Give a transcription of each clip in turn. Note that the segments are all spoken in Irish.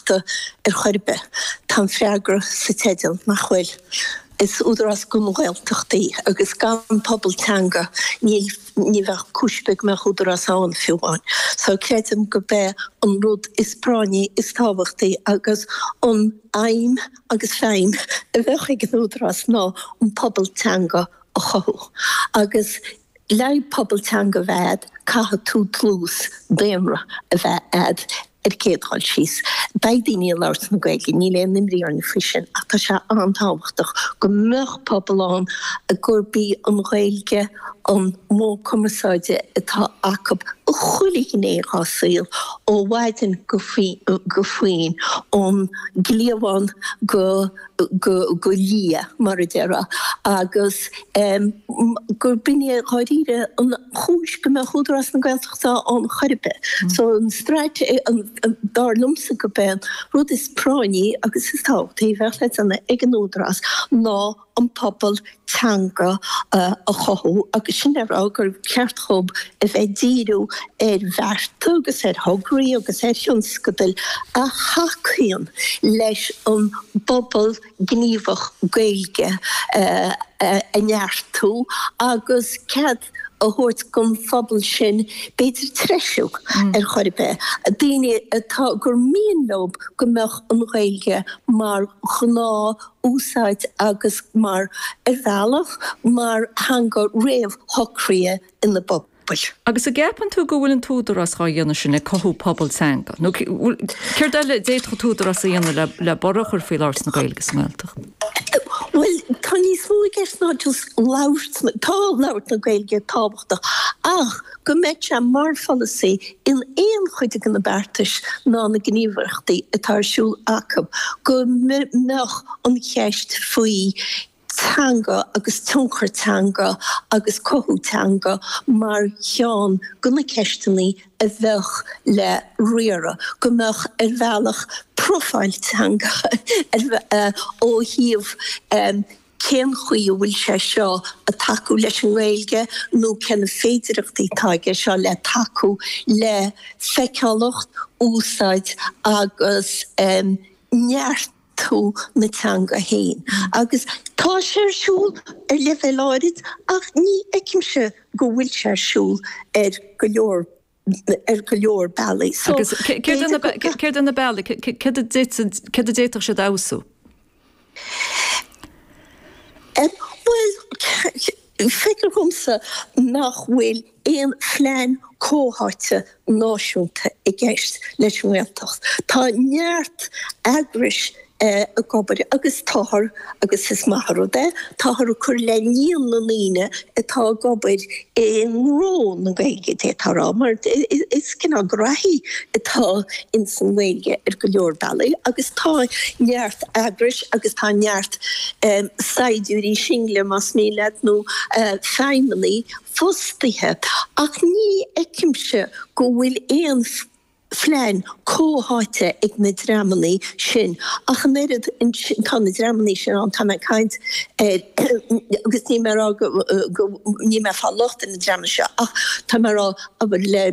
Gaeltachta ar chor ar bith? Tá an freagra sa teideal, nach bhfuil? Is údarás don Ghaeltacht í agus gan pobal teanga níl, ní bheadh cúis ar bith go mbeadh údarás ann fiú amháin. So creidim go b'é an rud is práinní, is tábhachtaí agus an aidhm agus feidhm a bheadh ag an údarás ná an pobal teanga a chothú agus Le pobal teanga a bheith a'd, caithfidh tú dlús daonra a bheith a'd ar an gcéad dhul síos. Beidh daoine ag labhairt na Gaeilge, níl aon imní orainn faoi sin, ach tá sé an-tábhachtach go mbeadh pobal ann gurb í an Ghaeilge an modh cumarsáide atá acu i chuile ghné dhá saol, ó mhaidin go faoin, ón gcliabhán go. go liath, mar a déarfá, agus gur b'in é dháiríre an chúis go mbeadh Údarás na Gaeltachta ann chor ar bith. So an straitéis, dar liomsa go b'é an rud is práinní agus is tábhachtaí a bheadh le déanamh ag an Údarás ná an pobal teanga a chothú agus sin le rá gur cheart dhób a bheith ag díriú ar bhearta agus ar thograí agus ar thionscadail a thacaíonn leis an bpobal gníomhach Gaeilge a neartú agus cead a thabhairt don phobal sin b'fhéidir treisiú ar chor ar bith, daoine atá, gur mian leo go mbeadh an Ghaeilge mar ghnáth úsáid agus mar, ar bhealach, mar theanga réamhshocraithe ina bpobail. Agus an gceapann tú go bhfuil an tÚdarás dhá dhéanamh sin, ag cothú pobal teanga? Nó céard eile a d'fhéadfadh an tÚdarás a dhéanamh le borradh a chur faoi labhairt na Gaeilge sa nGaeltacht? Bhuel, tá níos mó i gceist ná just labhairt na, tá labhairt na Gaeilge tábhachtach ach go mbeadh sé mar pholasaí in aon chuid de na beartais ná na gníomhaireachtaí atá ar siúl acu go mbeadh an cheist faoi teanga agus tionchar teanga agus cothú teanga mar cheann de na ceisteanna a bheadh le riaradh, go mbeadh ar bhealach profáil teanga ó thaobh cén chaoi a bhfuil sé seo ag tacú leis an nGaeilge nó cé na féidireachtaí atá aige seo le tacú le feiceálacht, úsáid agus neartú na teanga féin. Agus tá sé ar siúl ar leibhéal áirid ach ní fheicimse go bhfuil sé ar siúl ar go leor ar go leor bealaí. So, Agus céard é na bealaí, céard a d'fhéadfadh siad a fheabhsú? Bhuel, feictear dhomsa nach bhfuil aon phlean comhtháite náisiúnta i gceist leis an nGaeltacht. Tá neart eagrais ag obair agus táthar, agus is maith an rud é, táthar ag cur le líon na ndaoine atá ag obair i ngnó na Gaeilge, d'fhéadfá a rá, mar is cineál graithí atá ins an nGaeilge ar go leor bealaí agus tá neart eagrais agus tá neart saighdiúirí single, más mian leat, nó feidhmeannaigh fostaithe ach ní fheicimse go bhfuil aon phlean comhtháite ag na dreamanna sin ach an oiread. Tá na dreamanna sin ann, tá mé ag caint ar, agus níl mé ag rá go, níl mé ag fáil locht ar na dreamanna seo ach tá mé ag rá, abair, le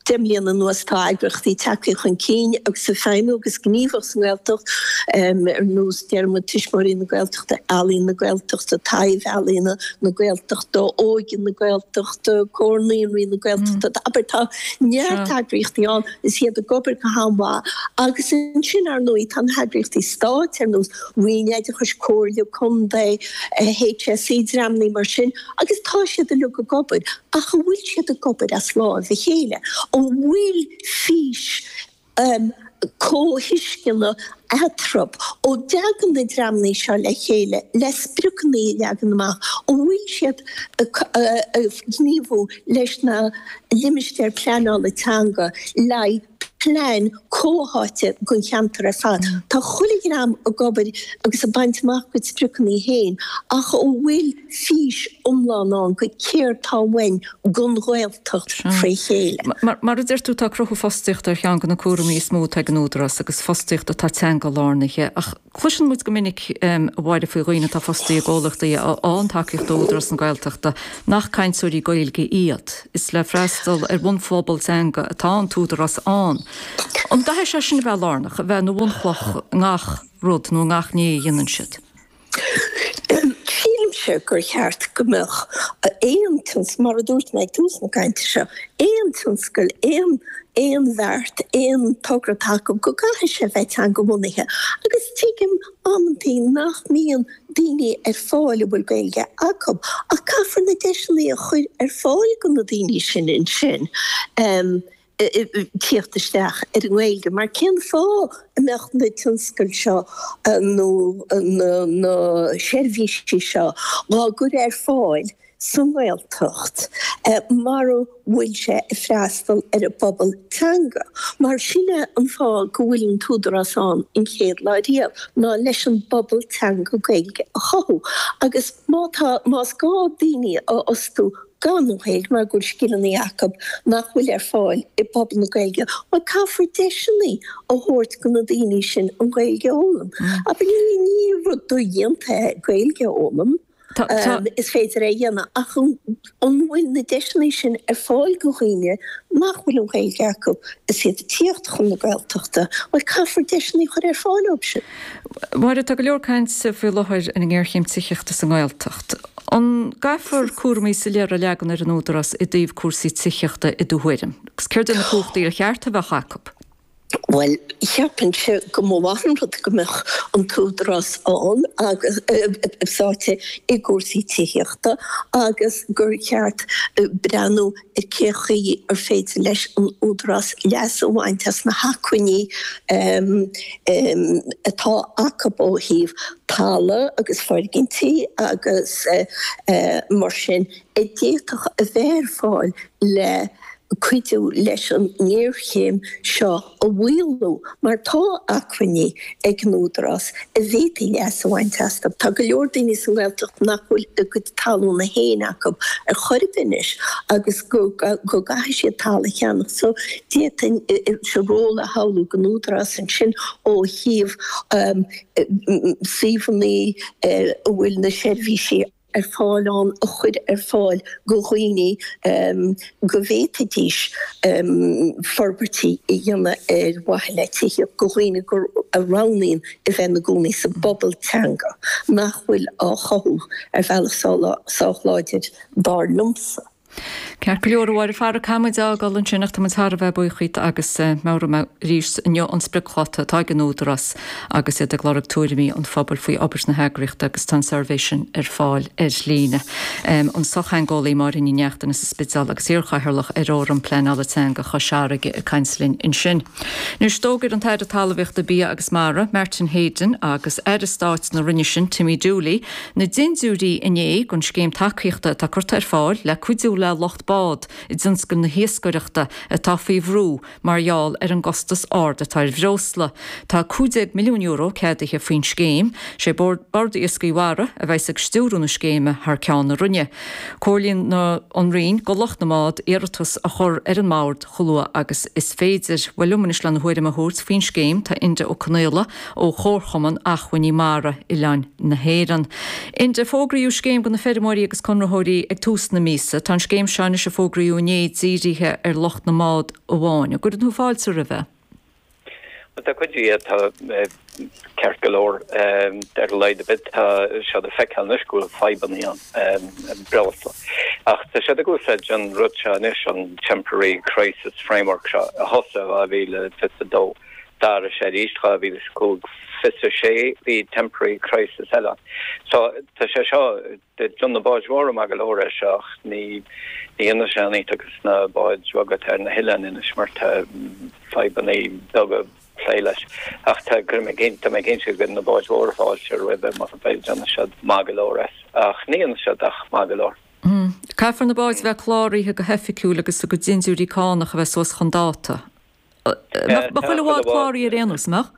10 mbliana anuas tá eagraíochtaí tagtha chun cinn agus ag feidhmiú agus gníomhach sa nGaeltacht ar nós, déarfaidh muid, Tuismitheoirí na Gaeltachta, Ealaín na Gaeltachta, Taibh-Ealaíona na Gaeltachta, Óige na Gaeltachta, Comhar Naíonraí na Gaeltachta, abair, tá neart eagraíochtaí ann is iad ag obair go han-mhaith agus ansin, ar ndóigh, tá na heagraíochtaí stáit ar nós Roinn Oideachais, Comhairle Contae, HSE, dreamanna mar sin agus tá siad uilig ag obair ach an bhfuil siad ag obair as láimh a chéile? An bhfuil fís comhthuisceana eatarthu? An dtagann na dreamanna seo le chéile le spriocanna a leagan amach? An bhfuil siad ag gníomhú leis na limistéir pleanála teanga le plean comhtháite don cheantar ar fad. Tá chuile dhream ag obair agus ag baint amach a gcuid spriocanna féin ach an bhfuil fís iomlán ann go céard tá uainn don Ghaeltacht fré chéile? Mar a deir tú, tá cruthú fostaíochta ar cheann de na cúraimí is mó atá ag an Údarás agus fostaíocht atá teanga-lárnaithe ach Cloiseann muid go minic, a Mháire, faoi dhaoine atá fostaithe i gcomhlachtaí a fhaigheann tacaíocht ó Údarás na Gaeltachta nach cainteoirí Gaeilge iad. Is le freastal ar bhunphobal teanga atá an tÚdarás ann. An gcaithfidh sé sin a bheith lárnach, a bheith ina bhunchloch i ngach rud nó i ngach ní a dhéanann siad? Sílimse gur cheart go mbeadh aon tionscal, mar a dúirt mé ag tús na cainte seo, aon tionscal, aon aon bheart, aon togra atá acu, go gcaithfidh sé bheith teangabhunaithe. Agus tuigim amantaí nach mbíonn daoine ar fáil a bhfuil Gaeilge acu, ach caithfear na deiseanna a chur ar fáil do na daoine sin ansin. tíocht isteach ar an nGaeilge, mar cén fáth a mbeadh na tionscail seo nó na seirbhísí seo dhá gcur ar fáil sa nGaeltacht mara bhfuil sé ag freastal ar an bpobal teanga? Mar sin é an fáth go bhfuil an tÚdarás ann an chéad lá riamh, ná leis an bpobal teanga Gaeilge a chothú. Agus má tá, más gá daoine a fhostú gan an Ghaeilge mar go bhfuil scileanna acu nach bhfuil ar fáil i bpobal na Gaeilge, bhuel caithfear deiseanna a thabhairt do na daoine sin an Ghaeilge a fhoghlaim. Abair ní ní rud dodhéanta é Gaeilge a fhoghlaim, is féidir é a dhéanamh ach an bhfuil na deiseanna sin ar fáil do dhaoine nach bhfuil an Ghaeilge acu is iad ag tíocht chun na Gaeltachta, bhuel caithfear deiseanna a chur ar fáil dóibh sin. Máire, tá go leor cainte faoi láthair ar an ngéarchéim tithíochta sa nGaeltacht. An gcaithfear cúraimí soiléire a leagan ar an Údarás i dtaobh cúrsaí tithíochta i do thuairim? Agus céard iad na cumhachtaí ar cheart a bheadh acu? Bhuel, cheapfainnse go mba mhaith an rud go mbeadh an tÚdarás ann agus sáite i gcúrsaí tithíochta agus gur cheart breathnú ar cé chaoi ar féidir leis an Údarás leas a bhaint as na hacmhainní atá acu ó thaobh talamh agus foirgintí agus mar sin a d'fhéadfadh a bheith ar fáil le cuidiú leis an ngéarchéim seo a mhaolú mar tá acmhainní ag an Údarás a bhféadfaí leas a bhaint astu. Tá go leor daoine sa nGaeltacht nach bhfuil a gcuid talúna féin acu ar chor ar bith anois agus go gcaithfidh siad talamh a cheannach so d'fhéadfainnse ról a shamhlú don Údarás ansin ó thaobh suíomhanna a bhfuil na seirbhísí ar fáil ann a chur ar fáil do dhaoine go bhféadfaidís forbairtí a dhéanamh ar mhaithe le tithíocht do dhaoine a roghnaíonn a bheith ina gcónaí sa bpobal teanga nach bhfuil á chothú ar bhealach sách láidir dar liomsa. Ceart go leor, a Mháire Farragh, caithfidh muid a fhágáil ansin ach tá muid thar a bheith buíoch díot agus meabhróidh mé arís inniu an spriocdháta atá ag an Údarás agus iad ag lorg tuairimí an phobail faoi obair na heagraíochta agus tá an suirbhé sin ar fáil ar líne. An sochtheangeolaí Máire Ní Neachtain as an Spidéal agus iarchathaoirleach ar Fhóram Pleanála Teanga Chois Fharraige ag caint linn ansin. Anois d'fhógair an tAire Talmhaíochta, Bia agus Mara, Martin Heydon agus Aire Stáit na Roinne sin, Timmy Dooley, Na dindiúirí inné don scéim tacaíochta atá curtha ar fáil le cuidiú le lucht bád i dtionscal na hiascaireachta atá faoi bhrú mar gheall ar an gcostas ard atá ar bhreosla. Tá €15 milliún ceadaithe faoin scéim. Sé Bord Iascaigh Mhara a bheas ag stiúradh na scéime thar ceann na Roinne. Comhairlíonn an Roinn do lucht na mbád iarratas a chur ar an mBord chomh luath agus is féidir. Bhuel liom anois lena thuairim a thabhairt faoin scéim tá Enda Ó Conaola ó Chomharchumann Achmhainní Mara Oileáin na hÉireann. Enda, fógraíodh scéim do na feirmeoirí agus conraitheoirí ag tús na míosa. Tá an scéim seo anois a fógraíodh inné dírithe ar lucht na mbád amháin. An gcuireann tú fáilte roimhe? Bhuel, tá cuid de atá ceart go leor. Ar a laghad ar bith tá siad ag feiceáil anois go bhfuil fadhbanna ann, breosla. Ach tá siad ag úsáid an rud seo anois, an Temporary Crisis Framework seo, a thosaigh i 2022. D'athraigh sé arís 2005, 26 bhí temporary crisis eile ann. So tá sé seo, déanann na báid mhóra maith go leor é seo ach ní dhéanann sé aon iontach dos na báid bheaga atá ar na hoileáin anois mar tá fadhbanna beaga plé leis. Ach tá, cuirim i gcéin, tá mé cinnte go gcuireann na báid mhóra fáilte roimhe mar déanann siad maith go leor as. Ach ní dhéanann siad ach maith go leor. Caithfear na báid a bheith cláraithe go hoifigiúil agus a gcuid dindiúirí cánach a bheith suas chun dáta. Mbeadh chuile bhád cláraithe ar aon nós, an mbeadh?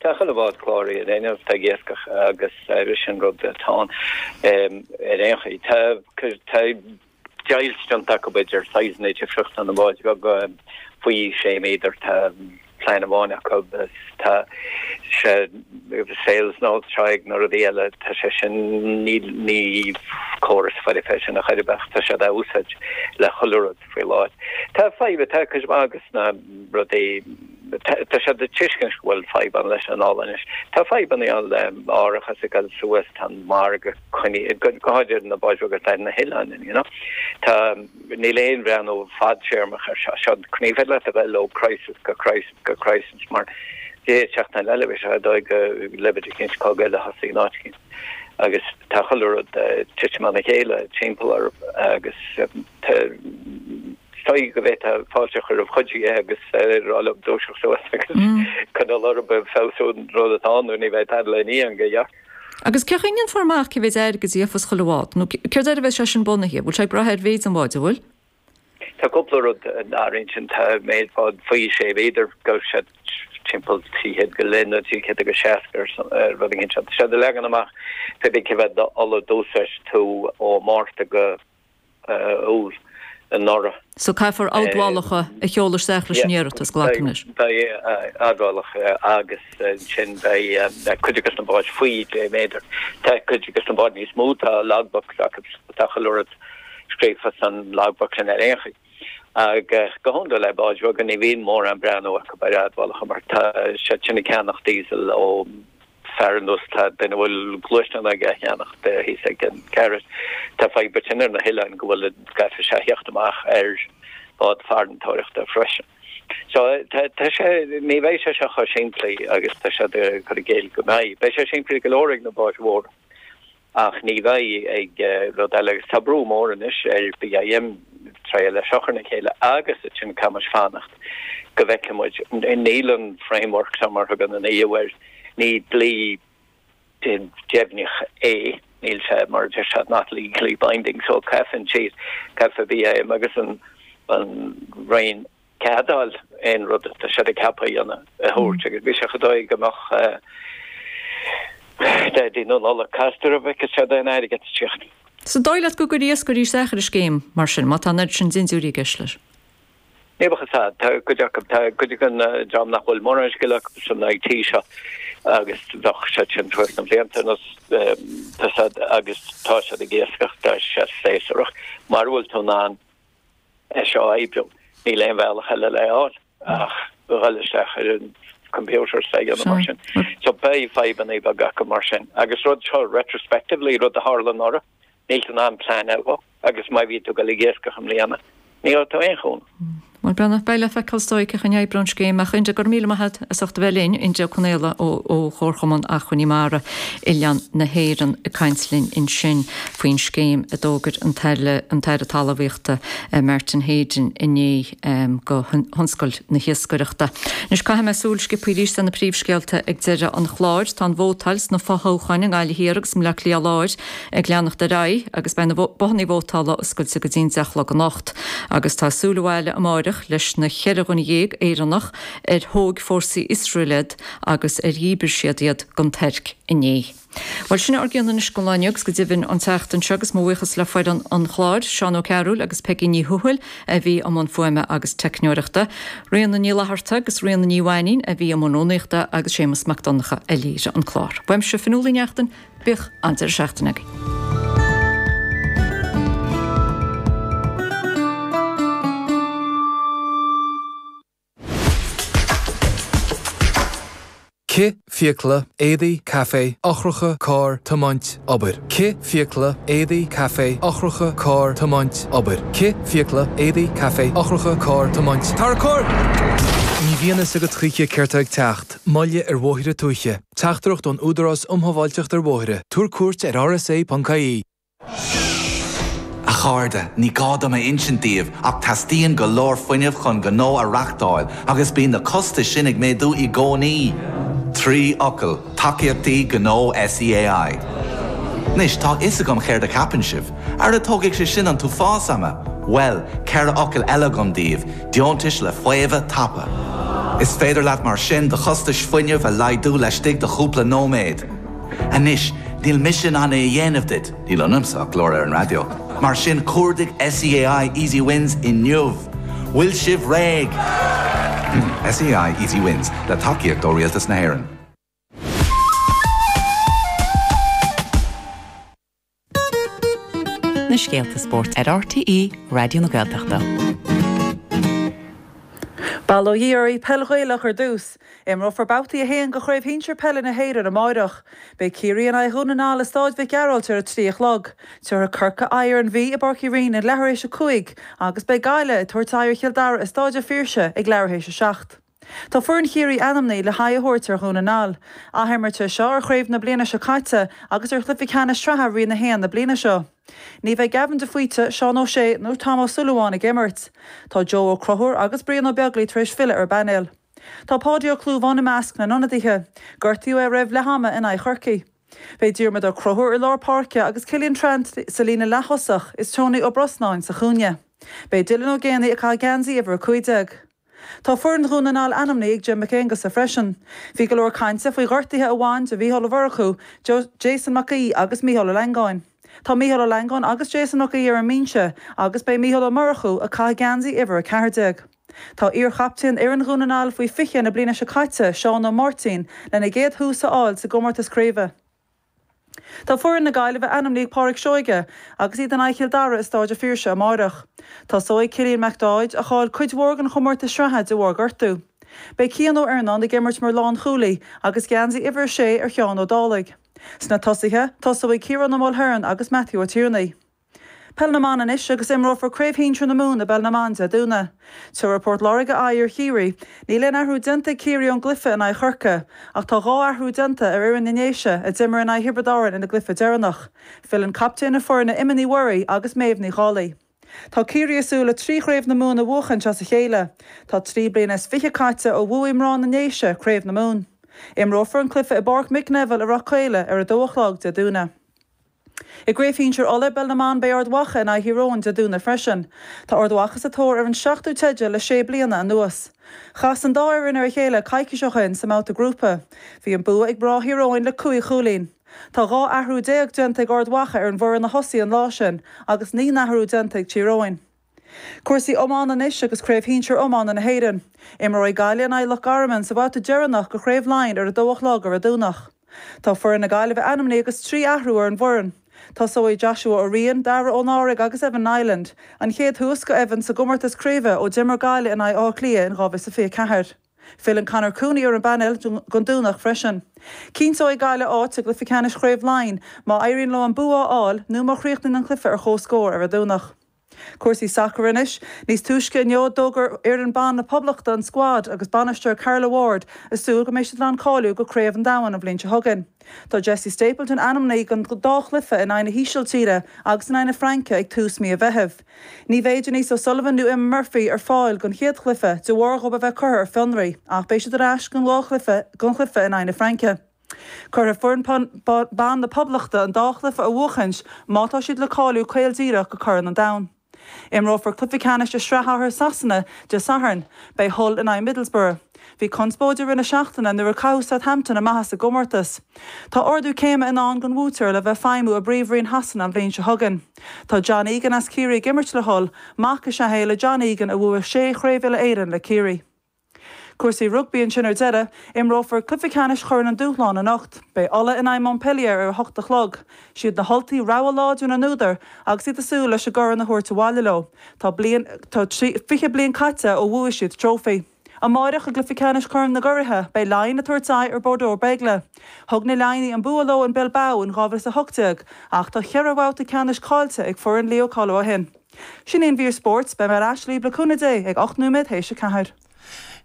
Tá chuile bhád cláraithe ar aon nós, atá ag iascach agus sin rud atá ann ar aon chaoi. Tá tá deighilt déanta acu idir saghsanna difriúla na báid bheaga faoi sé méadar, tá. plean amháin acu agus tá sé sales notes seo ag na rudaí eile, tá sé sin, ní, ní córas foirfe é sin ar chor ar bith ach tá siad á úsáid le chuile rud faoi láthair. Tá fadhb, tá cuid mhaith de na rudaí, tá siad ag tuiscint go bhfuil fadhb ann leis an ola anois. Tá fadhbanna ann le árachas ag dul suas, tá an margadh coinnithe, go háirithe na báid bheaga atá ar na hoileáin, you know. Tá, níl aon bhreathnú fadtéarmach ar seo. Seo, ní féidir leat a bheith ó crisis go crisis go crisis mar chéad seachtain eile bheidh sé ar dóigh go leibhéal eicínt cogadh eile a thosaigh in áit eicínt. Agus tá chuile rud ag titim as a chéile timpeall orthu agus tá, is dóigh go bhféadfá fáilte a chur roimh chuid dhe agus rá leo dúiseacht suas agus coinneáil orthu ag feabhsú an rud atá ann nó ní bheidh tada le ní ann go gearr. Agus cén chaoi a ndéanfar amach cé mhéid airgid a gheofas chuile bhád? Nó céard air a bheas sé sin bunaithe? Bhfuil sé ag brath ar mhéid an bháid, an bhfuil? Tá cúpla rud an áiríonn sin, tá méid bád faoi sé mhéadar, gheobhaidh siad timpeall 300 go leith nó 300 agus 60 ar rud éigin. Tá siad ag leagan amach pé bith cé mhéad ola d'úsáid tú ó Mhárta go Iúil anuraidh. So caithfear admhálacha a sheoladh isteach leis an iarratas, glacaim leis. Beidh admhálacha agus ansin beidh cuid de na báid faoi 10 méadar. Tá cuid de na báid níos mó, tá logbooks acu, tá chuile rud scríofa san logbook sin ar aon chaoi. Agus go hiondúil le báid bheaga ní bhíonn mórán breathnú acu ar admhálacha mar tá siad sin ag ceannach diesel ó fear ar nós tá duine a bhfuil gluaisteán aige á cheannach thíos ag an garage. Tá fadhb ansin ar na hoileáin go bhfuil caithfidh sé a theacht amach ar bhád farantóireachta freisin. So tá tá sé ní bheidh sé seo chomh simplí agus tá siad ag cur i gcéill go mbeidh. Beidh sé simplí go leor ag na báid mhóra. Ach ní bheidh ag rud eile agus tá brú mór anois ar BIM triail é seo a chur le chéile agus ansin caithfidh muid fanacht go bhfeicfidh muid. Níl an framework seo mar a thugann an EU air, ní dlí deimhneach é, níl sé mar a deir siad not legally binding so caithfidh siad, caithfidh BIM agus an Roinn cead a fháil aon rud atá siad ag ceapadh a dhéanamh a thabhairt agus bhí sé chomh dóigh go mbeadh Daidí na Nollag casta roimh a bhfeicfeadh siad aon airgead ag teacht. So dóigh leat go gcuirfí iascairí isteach ar an scéim mar sin, má tá an oiread sin dindiúirí i gceist leis? Ní bheadh fhios a'd. Tá cuid acu, tá cuid den dream nach bhfuil mórán scil acu san IT seo agus bheadh siad sin thuas na blianta anuas tá siad agus tá siad ag iascach, tá sé séasúrach mara bhfuil tú in ann é seo a oibriú. Níl aon bhealach eile le fháil ach dhul isteach ar an computer is é dhéanamh mar sin. So beidh fadhbanna beaga acu mar sin. Agus rud seo retrospectively, rud a tharla anuraidh, níl tú in ann pleanáil dhó agus má bhí tú ag dul ag iascach i mbliana, ní gheobhaidh tú aon chúnamh. Bhuel, Breandán, beidh le feiceáil is dóigh cén chaoi a n-oibreoidh an scéim ach Enda, go raibh míle maith agat as ucht a bheith linn, Enda Ó Conaola ó ó Chomharchumann Acmhainní Mara Oileáin na hÉireann ag caint linn ansin faoin scéim a d'fhógair an tAire an tAire Talmhaíochta Martin Heydon inné go thionscal na hiascaireachta. Anois caithfidh mé súil sciobtha arís ar na príomhscéalta ag deireadh an chláir. Tá an vótáil sna fothoghcháin i nGaillimh Thiar agus i mBleá Cliath Láir ag leanacht ar aghaidh agus beidh na bothanna vótála oscailte go dtí'n 10 a chlog anocht. Agus tá súil abhaile amáireach leis na 14 dhuine Éireannach ar thóg fórsaí Iosrael iad agus ar dhíbir siad iad don Tuirc inné. Bhuel, sin ár gcion anois don lá inniu agus go deimhin an tseachtain seo agus mo bhuíochas le foireann an chláir, Seán Ó Cearúil agus Peigí Ní Thuathail a bhí i mbun fuaime agus teicneoireachta, Ríona Ní Fhlatharta agus Ríona Ní Mhainín a bhí i mbun rúnaíochta agus Séamus Mac Donncha a léirigh an clár. Uaimse Fionnuala Ní Neachtain, bíodh an-deireadh seachtaine agaibh. Cith, fiacla, éadaí, caife, eochracha, carr, tiomáint, obair. Cith, fiacla, éadaí, caife, eochracha, carr, tiomáint, obair. Cith, fiacla, éadaí, caife, eochracha, carr, tiomáint, Tarracóir! Ní bhíonn fhios agat choíche céard tá ag teacht, moilligh ar bhóithre tuaithe. Teachtaireacht ón Údarás um Shábháilteacht ar Bhóithre. Tabhair cuairt ar rsa.ie. A chairde, ní gá dom a insint daoibh ach teastaíonn go leor fuinnimh chun gnó a reachtáil agus bíonn na costais sin ag méadú i gcónaí. 3 fhocal, tacaíochtaí gnó SEAI. Anois, tá a fhios agam céard a cheapann sibh. Ara tógfaidh sé sin an t-uafás ama! Bhuel, 4 fhocal eile agam daoibh, deontais le faomhadh tapa. Is féidir leat mar sin do chostais fuinnimh a laghdú laistigh de chúpla nóiméad. Anois, níl mise in ann é a dhéanamh duit, níl ionamsa ach glór ar an raidió, mar sin cuardaigh SEAI Easy Wins inniu! Bhfuil sibh réidh? SEAI Easy Wins, le tacaíocht ó Rialtas na hÉireann. Na scéalta spóirt ar RTÉ Raidió na Gaeltachta. Bail ó Dhia oraibh, Peil Ghaelach ar dtús. Imreofar Babhtaí 1 de Chraobh Shinsir Peile na hÉireann amáireach. Beidh Ciarraí in aghaidh Dhún na nGall i Stáid Mhic Gearailt ar a 3 a chlog. Tabharfaidh Corcaigh aghaidh ar an Mhí i bPáirc Uí Rinn ag leathuair théis a 5 agus beidh Gaillimh ag tabhairt aghaidh ar Chill Dara i Stáid a' Phiarsaigh ag leathuair théis a 7. Tá foireann Chiarraí ainmnithe le haghaidh a thabhairt ar Dhún na nGall. Athimirt é seo ar chraobh na bliana seo caite agus ar chluiche ceannais sraithe Roinn 1 na bliana seo. Ní bheidh Gavin de Faoite, Seán O'Shea nó Tom Ó Súilleabháin ag imirt. Tá Joe Ó Conchúir agus Brian Ó Beaglaoich tar éis filleadh ar an bpainéal. Tá Páidí Ó Clúmháin i measc na n-ionadaithe. Gortaíodh é roimh leath ama in aghaidh Chorcaí. Beidh Diarmuid Ó Conchúir i lár páirce agus Cillian Trant sa líne leath-thosach is Tony Ó Brosnáin sa chúinne. Beidh Dylan Ó Géanaigh ag caitheamh geansaí uimhir 15. Tá foireann Dhún na nGall ainmnithe ag Jim Mac Aonghusa freisin. Bhí go leor cainte faoi ghortuithe a bhain de Mhícheál Ó Murchú, Jason Mac Aoidh agus Mícheál Ó Langáin. Tá Mícheál Ó Langáin agus Jason Mac Aoidh ar an mbinse agus beidh Mícheál Ó Murchú ag caitheamh geansaí uimhir 14. Tá iar-chaptaen fhoireann Dhún na nGall faoi 20 na bliana seo caite, Seán Ó Máirtín, lena gcéad thús a fháil sa gcomórtas craoibhe. Tá foireann na Gaillimhe ainmnithe ag Pádraic Seoige agus iad in aghaidh Chill Dara i Stáid a' Phiarsaigh amáireach. Tosóidh Cillian McDaid, a chaill cuid mhór den chomórtas sraithe de bharr gortú. Beidh Cian Ó Iarnáin ag imirt mar lánchúlaí agus geansaí uimhir 6 ar Sheán Ó Dálaigh. Sna tosaithe, tosóidh Ciarán Ó Mulhern agus Matthew Ó Tiarnaigh. Peil na mBan anois agus imreofar Craobh Shinsir na Mumhan i bPeil na mBan Dé Domhnaigh. Tabharfaidh Port Láirge aghaidh ar Chiarraí. Níl aon athrú déanta ag Ciarraí ón gcluiche in aghaidh Chorcaí, ach tá 2 athrú déanta ar fhoireann na nDéise a d'imir in aghaidh Thiobraid Árann ina gcluiche deireanach. Filleann captaen na foirne Emma Ní Mhuirí agus Méabh Ní Dhálaigh. Tá Ciarraí ag súil le 3 chraobh na Mumhan a bhuachaint as a chéile. Tá 3 bliana is fiche caite ó bhuaigh mná na nDéise Craobh na Mumhan. Imreofar an cluiche i bPáirc Mick Neville i Ráth Caola ar 2 a chlog Dé Domhnaigh. I gCraobh Shinsir Uladh i bPeil na mBan beidh Ard Mhacha in aghaidh Thír Eoghain Dé Domhnaigh freisin. Tá Ard Mhacha sa tóir ar an seachtú teideal le sé bliana anuas. Chas an dá fhoireann ar a chéile coicís ó shin sa mbabhta grúpa. Bhí an bua ag mná Thír Eoghain le cúig chúilín. Tá 12 athrú déanta ag Ard Mhacha ar an bhfoireann a thosaigh an lá sin agus naoi n-athrú déanta ag Tír Eoghain. Cúrsaí iomána anois agus Craobh Shinsir Iomána na hÉireann. Imreoidh Gaillimh in aghaidh Loch Garman sa bhabhta deireanach de Chraobh Laighean ar 2 a chlog ar an Domhnach. Tá foireann na Gaillimhe ainmnithe agus 3 athrú ar an bhfoireann. Tosóidh Joshua Ó Riain, Dara Ó Náraigh agus Evan Niland, an chéad thús go Evan sa gcomórtas craoibhe ó d'imir Gaillimh in aghaidh Átha Cliath in 2024. Filleann Conor Cooney ar an bpainéal don Domhnach freisin. Cinnteoidh Gaillimh áit i gcluiche ceannais Chraobh Laighean má éiríonn leo an bua a fháil nó má chríochnaíonn an cluiche ar comhscór ar an Domhnach. Cúrsaí sacair anois. Níos túisce inniu d'fhógair fhoireann ban na Poblachta an scuad agus bainisteoir Carla Ward ag súil go mbeidh siad in ann cáiliú go Craobh an Domhain an bhliain seo chugainn. Tá Jessie Stapleton ainmnithe don dá chluiche in aghaidh na hÍsiltíre agus in aghaidh na Fraince ag tús mí an Mheithimh. Ní bheidh Denise O'Sullivan nó Emma Murphy ar fáil don chéad chluiche de bharr dhóibh a bheith curtha ar fionraí ach beidh siad ar ais don dá chluiche don chluiche in aghaidh na Fraince. Caithfidh foireann ban na Poblachta an dá chluiche a bhuachaint má tá siad le cáiliú caol díreach go Corn an Domhain. Imreofar cluiche ceannais i Sraith Shacair Shasana Dé Sathairn. Beidh Hull in aghaidh Middlesbrough. Bhí conspóid i rith na seachtaine nuair a caitheadh Southampton amach as an gcomórtas. Tá ardú céime i ndán don bhuaiteoir le bheith ag feidhmiú i bPríomhroinn Shasana an bhliain seo chugainn. Tá John Egan as Ciarraí ag imirt le Hull, mac is ea é le John Egan a bhuaigh sé Chraobh Uile-Éireann le Ciarraí. Cúrsaí rugbaí ansin ar deireadh, imreofar cluiche ceannais Chorn an Dúshláin anocht. Beidh Ulaidh in aghaidh Montpellier ar a hocht a chlog. Siad na hUltaigh rogha láidir na n-údar agus iad ag súil leis an gcorn a thabhairt abhaile leo. Tá bliain, tá 20 bliain caite ó bhuaigh siad trófaí. Amáireach i gcluiche ceannais Chorn na gCuraithe, beidh Laighin ag tabhairt aghaidh ar Bordeaux Bègles. Thug na Laighnigh an bua leo in Bilbao in 2018 ach tá cheithre bhabhta ceannais caillte ag foireann Leo Coller ó shin. Sin í an mhír spóirt. Beidh mé ar ais libh le cúnamh Dé ag 8 nóiméad théis a 4.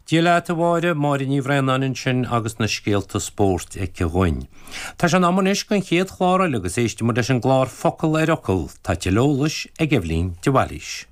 Dia leat, a Mháire, Máire Ní Bhraonáin ansin agus na scéalta spóirt aici dhúinn. Tá sé in am anois don chéad chlár eile agus éistfidh muid leis an gclár Focal ar Fhocal. Tá tuilleadh eolais ag Eibhlín de Bhailís.